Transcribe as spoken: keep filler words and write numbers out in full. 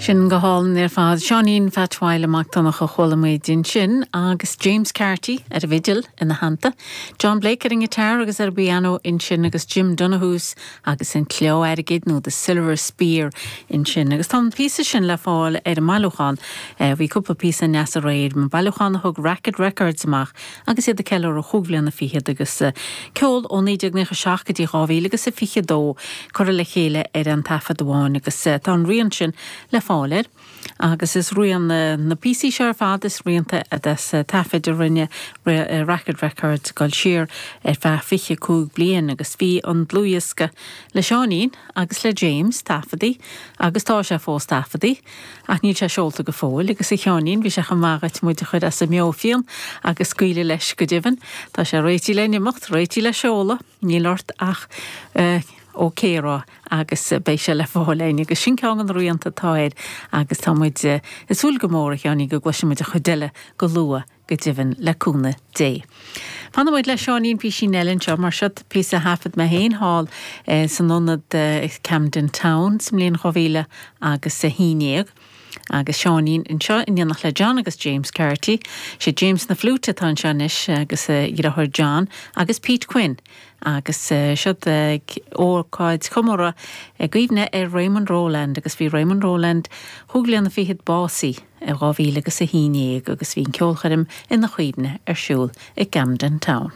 Sin go hálainn ar fad Seáinín Phat Mhaidhc Mac Donncha a chuala muid ansin agus James Carty ar an bhfidil ina theannta, John Blake ar an ngiotár agus ar piano ansin agus Jim Donohoes agus an claí airgid nó the Silver Spear ansin. Agus tá an píosa sin le fáil ar an mbailiúchán bhí cúpla píosa neas aréir an bailiúchán a thug Racket Records amach agus iad ag ceiliúradh chúig bhliana fichead agus ceol ó naoi déag nócha seacht go dtí dhá mhíle agus a fiche dó curtha le chéile ar an taifead amháin agus tá an rian sin le fáil air. Agus is rian na píosaí seo ar fad is rianta des taifid a rinne Racket Records go siar ar feadh fiche cúig bliain agus bhí an dlúthdhiosca le Seáinín agus le James taifeadta agus tá sé fós taifeadta ach níl sé seolta go fóill agus a Sheáinín bhí sé chomh maith muid a chur as a meabhair agus scaoileadh leis go deimhin Tá sé réitithe le n-imeacht réitithe le seoladh níl ort ach uh, OK a rá agus beidh sé le fáil agus sin ceann an rianta atá air agus tá muid ag súil go mór a Sheáinín go gcloisfimid a chuid eile go luath go deimhin le cúnamh Dé. Fanfaimid le Seáinín píosa eile anseo mar seo píosa a thaifead mé féin thall eh, san ionad eh, Camden Town sa mbliain dhá mhíle agus a haon déag. agus Seáinín anseo in éineacht le John agus James Carty, sé James na fliúite atá anseo anois agus dheartháir John agus Pete Quinn. agus siad ag ócáid chomóradh i gcuimhne ar Raymond Rowland agus bhí Raymond Rowland chúig bliana fichead básaithe i dhá mhíle agus a haon déag agus bhí an ceolchoirm ina chuimhne ar siúl i Camden Town.